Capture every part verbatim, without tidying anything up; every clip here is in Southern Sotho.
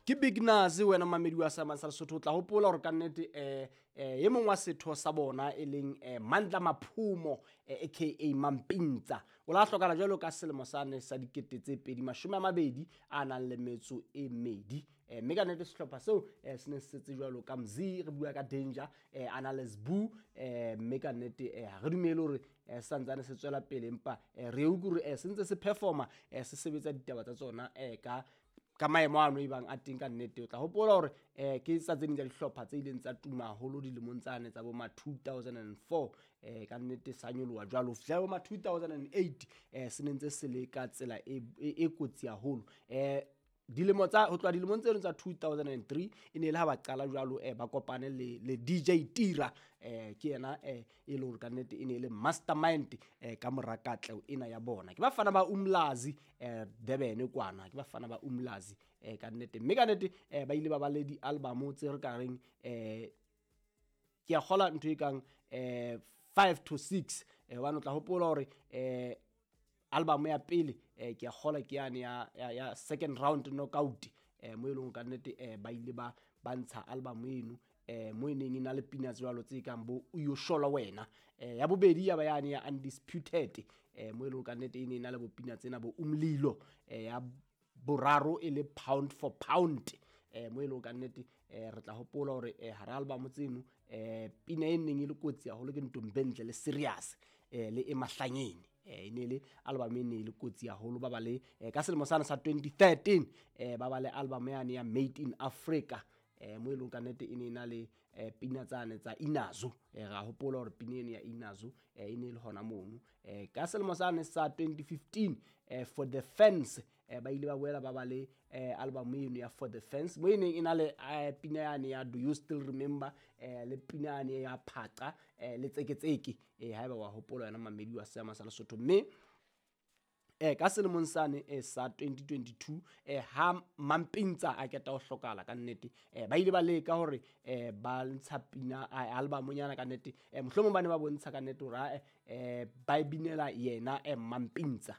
Ke Big Nuz wena mamedi wa Seama sa Lesotho. O tla hopola hore ka nnete eh eh e mong wa setho sa bona e leng eh, Mandla Maphumo eh, aka Mampintsa o la hlokala jwalo ka selemo sane sa dikete tse pedi mashome a mabedi a nang le metso e medi. Eh, mme ka nnete sehlopha seo eh, se ne se setse jwalo ka Mzi, re bua ka Danger, eh, a na le Sbu, eh, mme ka nnete eh, ha re dumele hore eh, se santsane se tswela pele, empa eh, re utlwe hore eh, se ntse se performa, eh, se sebetsa ditaba tsa tsona eh, ka ka maemo ano e bang a teng. Ka nnete o tla hopola hore eh ke tsa tse ding tsa dihlopha tse ileng tsa tuma haholo dilemong tsane tsa bo ma two thousand and four, eh ka nnete sa nyoloha jwalo ho fihla bo ma two thousand and eight, eh se ne ntse se le ka tsela e, e, e kotsi haholo. Eh dilemo tsa ho tloha dilemong tseno tsa two thousand and three e ne le ha ba qala jwalo, eh, ba kopane le, le D J Tira, eh, ke yena, eh, e leng hore ka nnete e ne e le mastermind, eh, ka mora katleho ena ya bona. Ke bafana ba Umlazi, eh, Durban kwana, ke bafana ba Umlazi, eh, ka nnete. Mme ka nnete, eh, ba ile ba ba le di-album tse re ka reng, eh, ke a kgola ntho e kang, eh, five to six, eh, hobane o tla hopola hore, eh, album ya pele, eh, ke a kgola ke yane ya, ya, ya second round knockout, eh, mo e leng ka nnete, eh, ba ile ba, ba ntsha album eno, eh, mo e neng e na le pina tse jwalo tse kang bo o yo shola wena. Eh, ya bobedi ya ba yane ya Undisputed, eh, mo e leng ka nnete e ne e na le bo pina tsena bo Umlilo, eh, ya boraro e le Pound for Pound, eh, mo e leng ka nnete, eh, re tla hopola hore, eh, hara album tseno, eh, pina e neng e le kotsi haholo ke Ntombentle le Serious, eh, le Emahlangene. Eh, e ne le album e ne e le kotsi haholo. Ba ba le, eh, ka selemo sane sa twenty thirteen, eh, ba ba le album yane ya Made in Africa, eh, mo e leng ka nnete e ne e na le, eh, pina tsane tsa Inazo. Eh, ra hopola hore pina eno ya Inazo, eh, e ne e le hona mono. Eh, ka selemo sane sa twenty fifteen, eh, For the Fans, eh, ba ile ba boela ba ba le, eh, album eno ya For the Fans, mo e neng e na le, eh, pina yane ya Do You Still Remember, eh, le pina yane ya Phaqa, eh, le Tseketseke, eh, haeba wa hopola yona mamedi wa Seama sa Lesotho. Mme eh, ka selemong sane, eh, sa twenty twenty-two, eh, ha Mampintsa a keta ho hlokala ka nnete, eh, ba ile ba leka hore, eh, ba ntsha pina, eh, album nyana ka nnete, eh, mohlomong ba ne ba bontsha ka nnete hore, eh, ba e binela yena, eh, Mampintsa.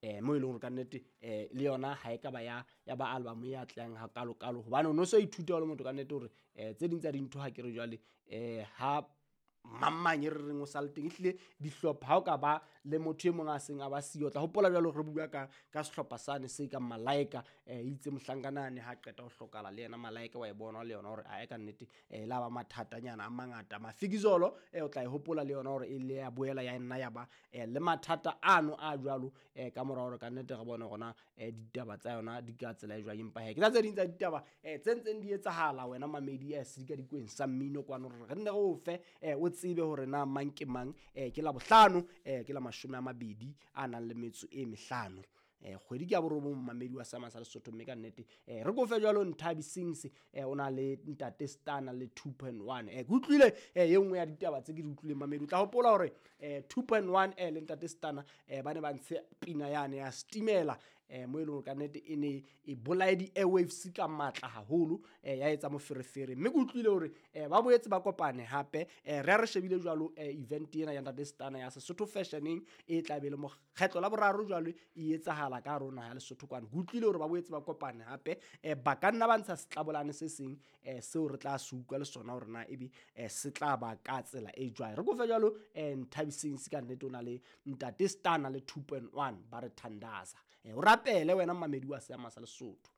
Eh, mo e leng hore ka nnete, eh, le yona ha e ka ba ya, ya ba album e atlehang hakalo-kalo, hobane o no so ithuta o le motho ka nnete hore, eh, tse ding tsa dintho ha ke re jwale, eh, ha mang mang e re reng o sa le teng, ehlile dihlopha ha o ka ba le motho e mong a seng a ba siyo, o tla hopola jwalo re bua ka, ka sehlopha sane se kang Malaika, eh, itse mohlankana ha qeta ho hlokala le yena Malaika wa e bona le yona hore ae ka nnete, eh, la ba mathatanyana a mangata. Mafikizolo, eh, o tla e hopola le yona hore e le ya boela ya nna ya ba, eh, le mathata ano a jwalo, eh, ka mora hore ka nnete re bone hore na, eh, ditaba tsa yona di ka tsela e jwang. Empa he, ke tsa tse ding tsa ditaba, eh, tse ntseng di etsahala wena mamedi, eh, sedikadikweng sa mmino kwano, hore re nne re o fe, eh, o tsebe hore na mang ke mang. Eh, ke la bohlano, eh, ke la mashome a mabedi a nang le metso e mehlano. Eh, kgwedi ke ya borobong mamedi wa Seama sa Lesotho, mme ka nnete, eh, re kofe jwalo Nthabi Sings, eh, o na le Ntate Stana le two point one. Eh, ke utlwile, eh, e nngwe ya ditaba tse ke di utlwileng mamedi. O tla hopola hore, eh, two point one, eh, le Ntate Stana, eh, ba ne ba ntshe pina yane ya Stimela, eh, mo e leng hore ka nnete e ne e bolaye di-airwaves ka matla haholo, eh, ya etsa moferefere. Mme ke utlwile hore, eh, ba boetse ba kopane hape, eh, re a re shebile jwalo, eh, event ena ya Ntate Stana ya Sesotho Fashioning e tla be le mokgetlo la boraro jwalo e etsahala ka hare ho naha ya Lesotho kwano. Ke utlwile hore ba boetse ba kopane hape, eh, ba ka nna ba ntsha setlabolane se seng, eh, seo re tla se utlwa le sona hore na ebe, eh, se tla ba ka tsela e jwang. Re kofe jwalo, eh, Nthabi Sings ka nnete o na le Ntate Stana le two point one ba re thandaza. Eh, o rapele wena mamedi wa Seama sa Lesotho.